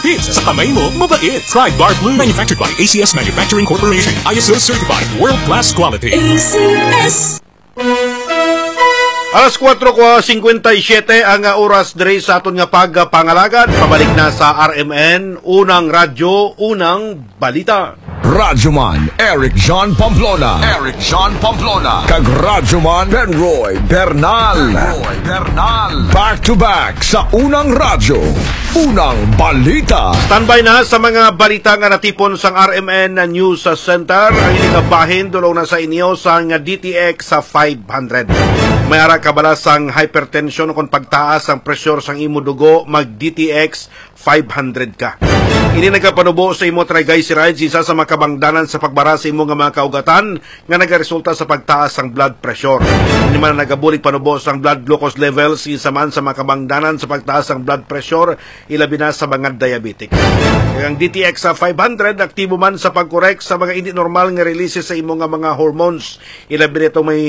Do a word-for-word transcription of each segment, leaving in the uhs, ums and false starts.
Pits, sa kamay mo, mabait. Pride Bar Blue, manufactured by A C S Manufacturing Corporation. I S O certified, world-class quality. A C S. Alas kuwatro ko singkwenta y siyete ang, ah, oras diri sa aton nga pagpangalagad. Pabalik na sa R M N, Unang Radyo, Unang Balita. Radyoman Eric John Pamplona. Eric John Pamplona. Kag Radyoman Benroy Bernal. Benroy Bernal. Back to back sa Unang Radyo, Unang Balita. Standby na sa mga balita nga natipon sang R M N News Center. Ang ini nga bahin dulong na sa inyo sang D T X sa five hundred. May ara kabala sang hypertension o kon pagtaas ang pressure sang imo dugo, mag D T X five hundred ka. Ini nagapanubo sa imo triglycerides, isa sa makabangdanan sa pagbara sa imo nga mga kaugatan nga nagaresulta sa pagtaas sang blood pressure. Ini man nagabulig panubo sang blood glucose levels, isa man sa makabangdanan sa pagtaas sang blood pressure, ilabi na sa mga diabetic. Ang D T X sa five hundred aktibo man sa pag-correct sa mga hindi normal nga releases sa imo nga mga hormones, ilabi na itong may,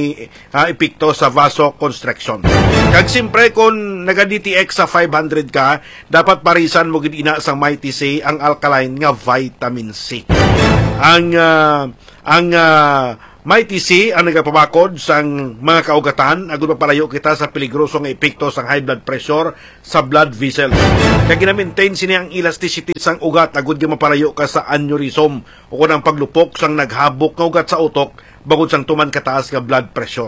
ah, epekto sa vasoconstriction. Kag siyempre, kung naga-D T X sa five hundred ka, dapat parisan mo gid ina sang Mighty C ang alkaline nga vitamin C. Ang, ah, ang, ah, Mighty C ang nagapabakod sang mga kaugatan agud mapalayo kita sa peligroso nga epekto sang high blood pressure sa blood vessels. Kag gina-maintain sini ang elasticity sang ugat agud nga mapalayo ka sa aneurysm o kon ang paglupok sang naghabok nga ugat sa utok bangod sang tuman kataas nga blood pressure.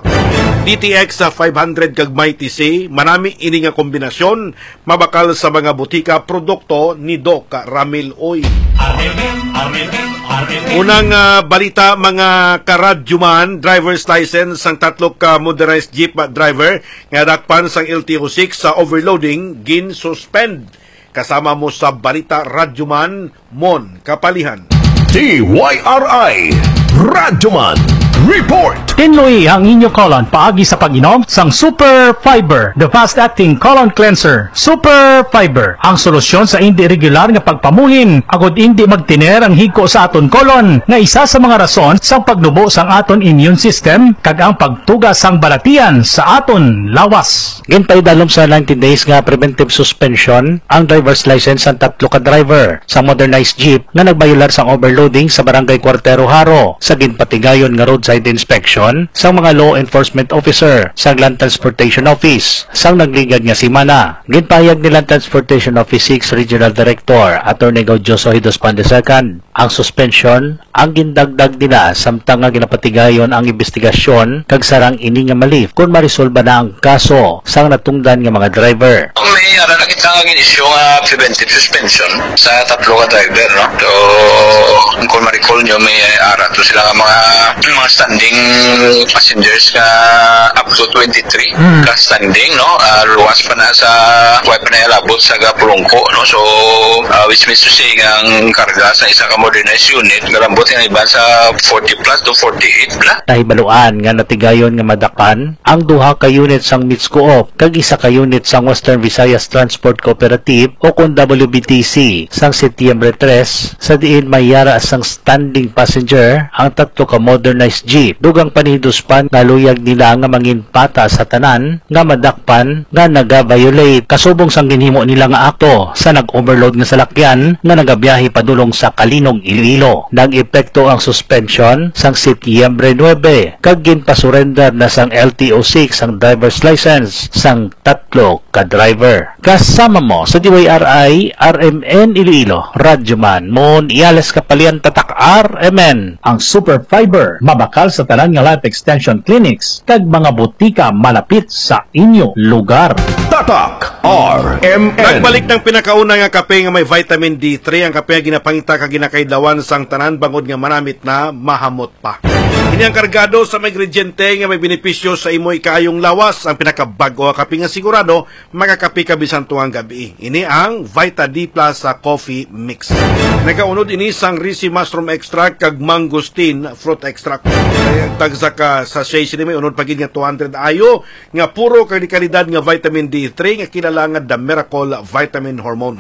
D T X sa five hundred kag Mighty C, manami ini nga kombinasyon, mabakal sa mga butika produkto ni Doc Ramil Uy. Unang, ah, balita, mga karadyoman, driver's license sang tatlo ka motorized jeep driver nga dakpan sang L T O six sa overloading, gin-suspend. Kasama mo sa balita, Radyoman Mon Kapalihan. D Y R I Radyoman Report. Tinluyi ang inyo colon paagi sa pag-inom sang Super Fiber, the fast-acting colon cleanser. Super Fiber, ang solusyon sa indi regular nga pagpamuhin, agud indi magtiner ang higko sa aton colon, nga isa sa mga rason sang pagnubo sang aton immune system kag ang pagtuga sang balatian sa aton lawas. Ginpaidalom sa ninety days nga preventive suspension ang driver's license sang tatlo ka driver sa motorized jeep nga nagbayular sang overloading sa Barangay Cuartero, Jaro, sa ginpatigayon nga roadside inspection sang mga law enforcement officer sang Land Transportation Office sang nagligad nga semana. Ginpahayag ni Land Transportation Office six Regional Director Attorney Gaudioso Hidos Pan the second ang suspension ang gindagdag nila samtang nga ginapatigayon ang imbestigasyon kag sarang ini nga ma-lift kon maresolba na ang kaso sang natungdan nga mga driver. May ara na kita nga gin-issue nga preventive suspension sa tatlo ka driver, no? So, kung ma-recall nyo, may ara to sila nga mga, mga standing passengers nga up to twenty-three Mm. ka standing, no? Ah, luwas pa na sa, wa pa na labot sa Gapulungko, no? So, ah, which means to say nga ang karga sa isa ka modernized unit, nalambot nga iban sa forty plus to forty-eight na. Nahibaluan nga natigayon nga madakpan ang duha ka unit sang Mitscoop kag isa ka unit sang Western Visayas Transport Cooperative o kon W B T C sang Setyembre tres, sa diin may yara sang standing passenger ang tatlo ka modernized jeep. Dugang pa ni Hidos Pan nga luyag nila nga manginpata sa tanan nga madakpan nga naga-violate kasubong sang ginhimo nila nga akto sa nag-overload nga salakyan nga nagabiyahe padulong sa Calinog, Iloilo. Nag-epekto ang suspension sang Setyembre nuebe kag ginpasurrender na sang L T O six ang driver's license sang tatlo ka driver. Kasama mo sa D Y R I R M N Iloilo, Radyoman Mon Iales Kapalian, Tatak R M N. Ang Super Fiber mabakal sa tanan nga life extension clinics kag mga butika malapit sa inyo lugar. Tatak R M N. Nagbalik ng pinakauna nga kape nga may vitamin D three, ang kape nga ginapangita kag ginakaidlawan sang tanan bangod nga manamit na, mahamot pa. Ini ang kargado sa mga ingrediente nga may benepisyo sa imo ikaayong lawas. Ang pinakabag-o nga kape nga sigurado, makakape ka bisan tungang gabi. Ini ang Vita D Plus sa coffee mix. Nagaunod ini sang risi mushroom extract kag mangosteen fruit extract. Kay ang tagsa ka sachet sini may unod pa gid nga two hundred I U nga puro kag kalidad nga vitamin D three nga kilala nga the miracle vitamin hormone.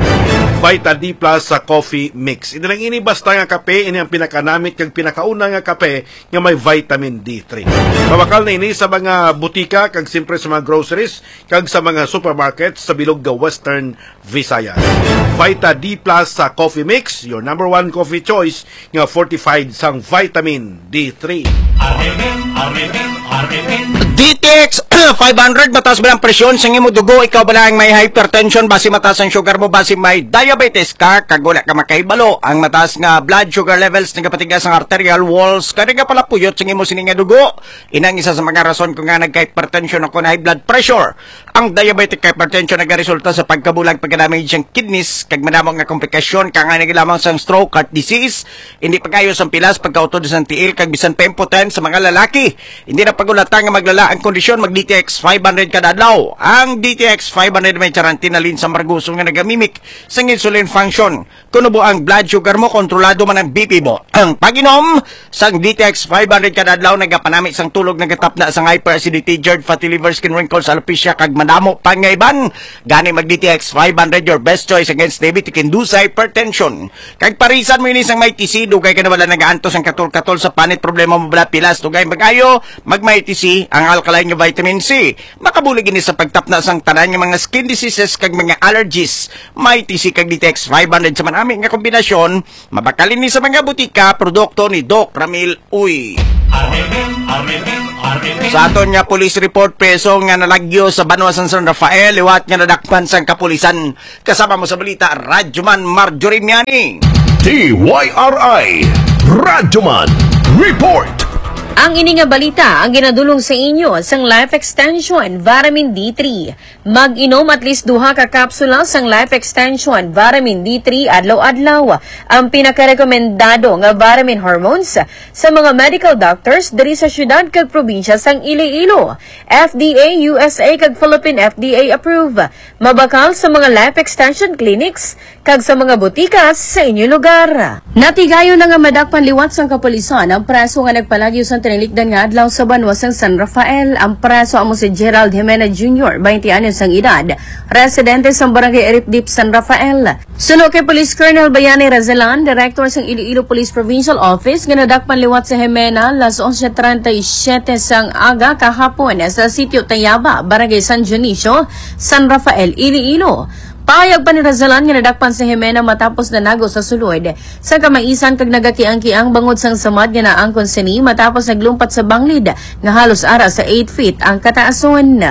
Vita D plus sa coffee mix. Hindi lang ini basta nga kape, ini ang pinakanamit kag pinakauna nga kape nga may vitamin D three. Mabakal na ini sa mga butika kag siyempre sa mga groceries kag sa mga supermarket sa bilog nga Western Visayas. Vita D plus sa coffee mix, your number one coffee choice nga fortified sang vitamin D three. Arnel, Arnel, Arnel. D T X five hundred, mataas ba ang presyon sa imo dugo? Ikaw ba lang may hypertension? Basi mataas ang sugar mo? Basi may diabetes ka? Kag wala ka makahibalo. Ang mataas nga blood sugar levels nagapatigas ang arterial walls. Kag nagapalapuyot sa imo sini nga dugo. Inang isa sa mga rason kung nga nagka-hypertension o kung high blood pressure. Ang diabetic hypertension nagaresulta sa pagkabulag, pagka-damage ang kidneys, kag madamo nga komplikasyon, kangani lamang sang stroke, heart disease, hindi pag-ayos ang pilas, pagkautod sa tiil, kag bisan pa impotent sa mga lalaki. Hindi na pag-ulata nga maglala ang kondisyon, mag D T X five hundred kada adlaw. Ang D T X five hundred may charantinalin sa margoso nga nagamimik sang insulin function. Kuno ba ang blood sugar mo, kontrolado man ang B P mo. Ang pag-inom sang D T X five hundred kada adlaw nagapanami sang tulog, nagatapna sang hyperacidity, GERD, fatty liver, skin wrinkles, alopecia, kag madamo pa nga iban. Gani mag D T X five hundred, your best choice against diabetic induced hypertension. Kag parisan mo ini sang may T C, dugay ka na wala nagaantos ang katol-katol sa panit, problema mo bala pilas, dugay mag-ayo, mag may T C, ang alkaline nga vitamin C. Makabulig ini sa pagtapna sang tanan nga mga skin diseases kag mga allergies. May T C kag D T X five hundred sa manami nga kombinasyon, mabakal ini sa mga butika, produkto ni Doc Ramil Uy. Arnel, Arnel, Arnel. Sa aton nga police report, preso nga nalagyo sa banwa sang San Rafael, liwat nga nadakpan sang kapulisan. Kasama mo sa balita, Radyoman Marjorie Miani. D Y R I, Radyoman Report. Ang ini nga balita ang ginadulong sa inyo sang Life Extension Vitamin D three. Mag-inom at least duha ka kapsula sang Life Extension Vitamin D three adlaw-adlaw, ang pinakarekomendado nga vitamin hormones sa mga medical doctors diri sa siyudad kag probinsya sang Iloilo. F D A U S A kag Philippine F D A approve. Mabakal sa mga Life Extension clinics kag sa mga butika sa inyo lugar. Natigayon na nga madakpan liwat sang kapulisan ang preso nga nagpalagyo sang tinilikdan nga adlaw sa banwa sang San Rafael. Ang preso amo si Gerald Jimena Junior, twenty anyos ang edad, residente sang Barangay Eripdip, San Rafael. Suno kay Police Colonel Bayani Razalan, Director sang Iloilo Police Provincial Office, nga nadakpan liwat si Jimena las onse treinta y siete sang aga kahapon sa Sitio Tayaba, Barangay San Dionisio, San Rafael, Iloilo. Pahayag pa ni Razalan nga nadakpan si Jimena matapos nanago sa sulod sang kamaisan kag nagakiang-kiang bangod sang samad nga naangkon sini matapos naglumpat sa banglid nga halos ara sa eight feet ang kataason.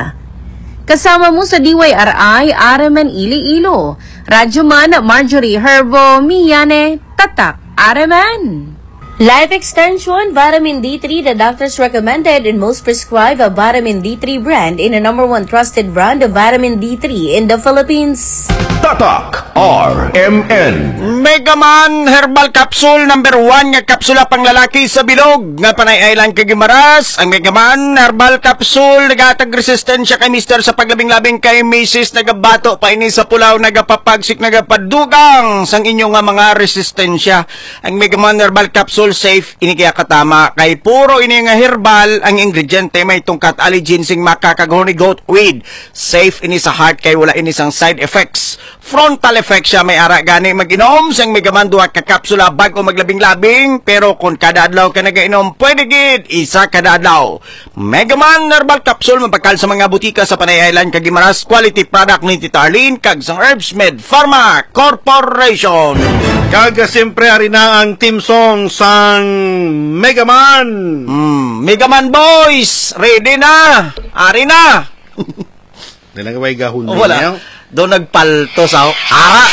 Kasama mo sa D Y R I, Araman Iloilo. Radyoman Marjorie Herbo, Miane, Tatak, Araman. Life Extension, Vitamin D three, the doctor's recommended and most prescribed vitamin D three brand and the number one trusted brand of vitamin D three in the Philippines. Tatak R M N. Megaman Herbal Capsule, number one nga kapsula pang lalaki sa bilog nga panay-ay lang kag gimaras. Ang Megaman Herbal Capsule nagahatag resistensya kay mister sa paglabing-labing kay misis, nagabato pa ini sa pulaw, nagapapagsik, nagapadugang sang inyo nga mga resistensya. Ang Megaman Herbal Capsule safe ini kaya katama kay puro ini nga herbal ang ingrediente, may tungkat, allicin sing maca kag horny goat weed. Safe ini sa heart kay wala ini sang side effects. Frontal effect siya, may ara gani mag-inom sang Megaman duha ka kapsula bag-o maglabing-labing, pero kung kada adlaw ka nagainom, pwede gid isa kada adlaw. Megaman Herbal Capsule mabakal sa mga butika sa Panay Island kag Guimaras, quality product ni Tita Arlene kag sang Herbs Med Pharma Corporation. Kag, ah, siyempre, ari na ang theme song sang Megaman. Mm, Megaman Boys, ready na. Ari na. Nilang way gahon. Oh, wala. Daw nagpalto sa ara.